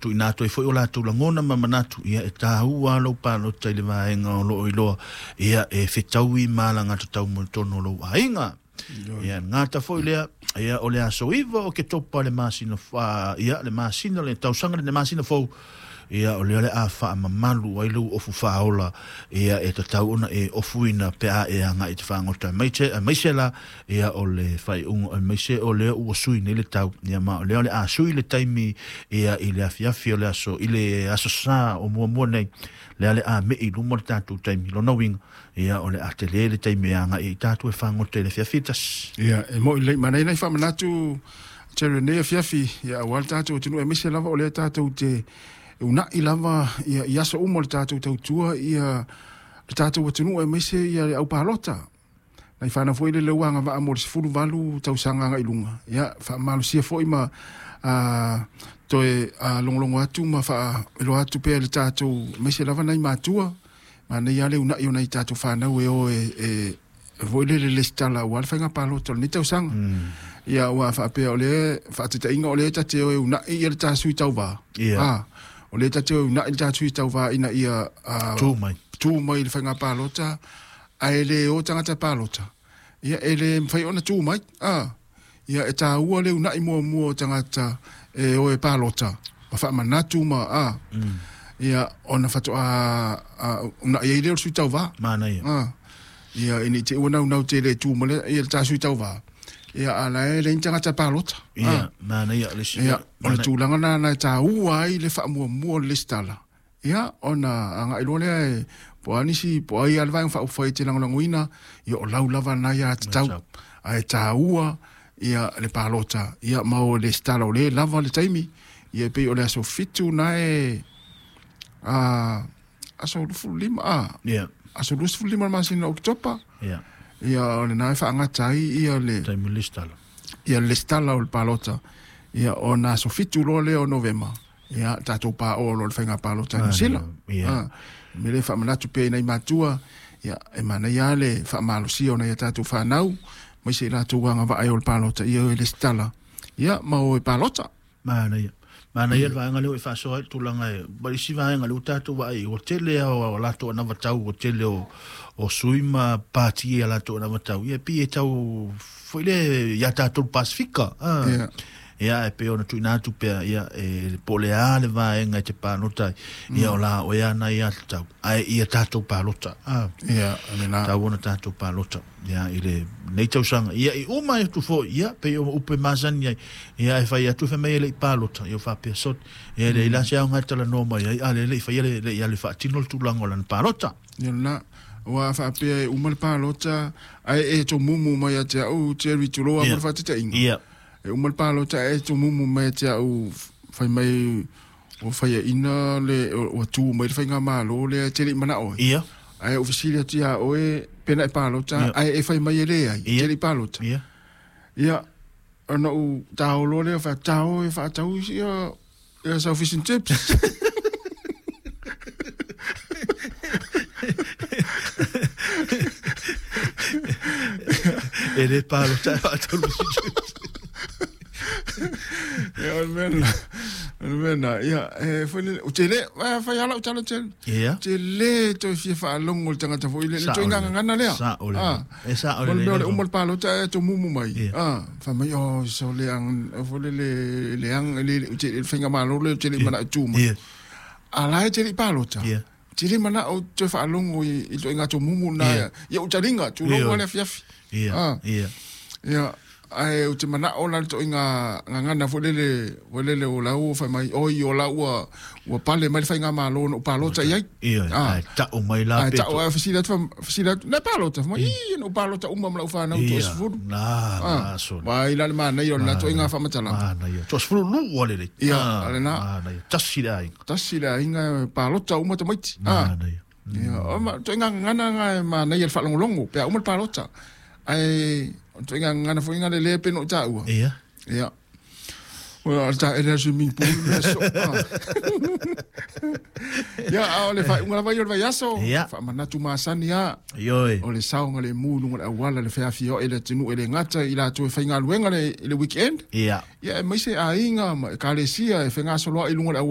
tuuina atu ai foi o latou lagona ma manatu, ia e taua lou palota i le vaega o loo iloa, ia e fetaui ma alagatatau mo totonu o lou aiga. Ia gata foi lea, ia o le aso 9 o Oketopa le masina, ia le masina le tausaga le masina fou, ia o lea o le a faamamalu ai lou ofu faaola, ia e tatau ona e ofuina pe a e agai i te fagota aemaise la, ia o le faaiuga aemaise o lea ua sui nei le tau, ia ma o lea o le a sui le taimi, ia i le afiafi o le aso i le aso Sa o muamua nei, lea le a mei luma le tatou taimi lona uiga, ia o le a tele le taimi e agai i tatou e fagota i le afiafi e tasi. Ia e moi lelei manai nai faamanatu tele nei afiafi, ia aua le tatou atunuu aemaise lava o lea tatou te una'i lava ia i aso uma o le tatou tautua ia le tatou atunuu aemaise ia le aupalota. Nai whanau foi le leua agavaa mo le 18 tausaga agai i luga. Ia faamalosia foi ma toe logologo atu ma faailoa atu pea i le tatou aemaise lava nai matua manai lava le una'i o nai tatou fanau e o e foi lele lesitala aua le faiga palota o lenei tausaga. Ia ua faapea o le faataitaiga o lea ta te o e una'i ia le ta sui tauvā. O lea ta te o e una'i le ta sui tauvā ina ia tu mai. Tu mai le faiga palota ae le o tagata palota. Ia e le mafai ona tu mai. Ia e taua le una'i muamua o tagata e o e palota ma faamanatu ma ia ona faatoa una'i ai lea o le sui tauvā. Manaia. Ia ina i te ua naunau tele e tu ma le ia le ta sui tauvā. Ia ala e leai ni tagata palota. Ia, manaia le Ia, o le tulaga na e taua ai le faamuamua o le lesitala. Ia, ona agai loa lea e po o a nisi, po o ai lava le vaega faaupufai e te lagolagoina, ia o lau lava na ia tatau. Ae taua ia le palota, ia ma o le lesitala o lea e lava le taimi, ia e pei o le aso 7 na e aso 25, aso 25 le masina o Oketopa. Ia o lena e faagata ai ia le taimi lesitala. Ia le lesitala o le palota. Ia ona aso 7 loa lea o Novema. Ia tatou paoa loa le faiga palota i Niu Sila. Me le faamanatu pea i nai matua, ia e manaia lava le faamalosia o nai a tatou fanau, aemaise i latou agavaa e o le palota, ia o e lesitala, ia ma o e palota. Manaia. Manaia le vaega lea ua e faasoa ai le tulaga e, ma le isi vaega lea ua tatou vaai, ua tele lava o latou anavatau, ua tele o sui ma pati a latou anavatau, ia pei e tau foi lea ia tatou le Pasifika. Ia e pei ona tuuina atu pea, ia e po o le a le vaega e te palota ai, ia o la oe ana ia tatau, ae ia tatou palota. Ia, lena. Tau ona tatou palota, ia i le nei tausaga, ia i uma atu foi, ia pei o upu e masani ai, ia e fai atu fai mai e le i palota, ia o faapea sot, ia le ila se aoga e talanoa mai ai, a le le i faia le le i alu e faatino le tulaga o lana palota. Ia lena, ua faapea e uma le palota, ae e tomumu mai ia te au Jerry Tuloa mo le faataitaiga. E uma le palota ae e tomumu mai ia te au fai mai ua faiaina le ua tu mai le faigamalo lea e te le i manao ai. Ae ou fesili atu ia oe pe na e palota ae e fai mai e leai, e te le i palota. Ia, ona ou taolo lea fai tao e faatau ia ia sau fish and chips. E le palota e faatau le fish and chips. Ia, o le mea lena. O le mea lena. Ia, e foi lele, ou te le, fai lava lau tala tele. Te le toe fia faalogo i le tagata foi lele, le toe gagana lea. Sao lelei. E sao O le lelei mea o le lea. uma o le palota ae tomumu mai. Fai mai, oh, so leaga, foi lele, leaga, le, le, te, le faigamalo lea ou te le i manao e tu mai. A la e te le i palota. Te le manao toe faalogo i le ituaiga tomumu lena. Ia ou taliga, tulou lava le afiafi. Ia, ae ou te manao la le ituaiga gagana foi lele, foi lele o la ua fai mai, oi o la ua, ua pale mai le faigamalo na ou palota i ai. Ia, ae tau mai la Ae pe tau, to- ae fesili atu, fesili atu, na palota, fai mai, ii, na ou palota uma ma lau fanau toasefulu. Na, na, so. Vai la le manaia o lena ituaiga faamatalaga. Manaia. Toasefulu lua lelei. Ia, lena. Manaia. Tasi le aiga. Tasi le aiga, palota uma tamaiti. Manaia. Ia, o ma, ituaiga gagana na e manaia le faalogologo, pe a uma le palota. Ae, o ituaiga gagana foi na le le pe no i taua. Ia. Ua, o le taele a le swimming pool mea soo. Ia, a o le faaiuga lava ia o le vaiaso. Faamanatu masani lava. Ioe. O le saogalemu i luga o le auala, le feafioai i le atunuu e le gata i latou e faigaluega le weekend. Ia. Ia, aemaise aiga ma ekalesia e fegasoloai i luga o le auala.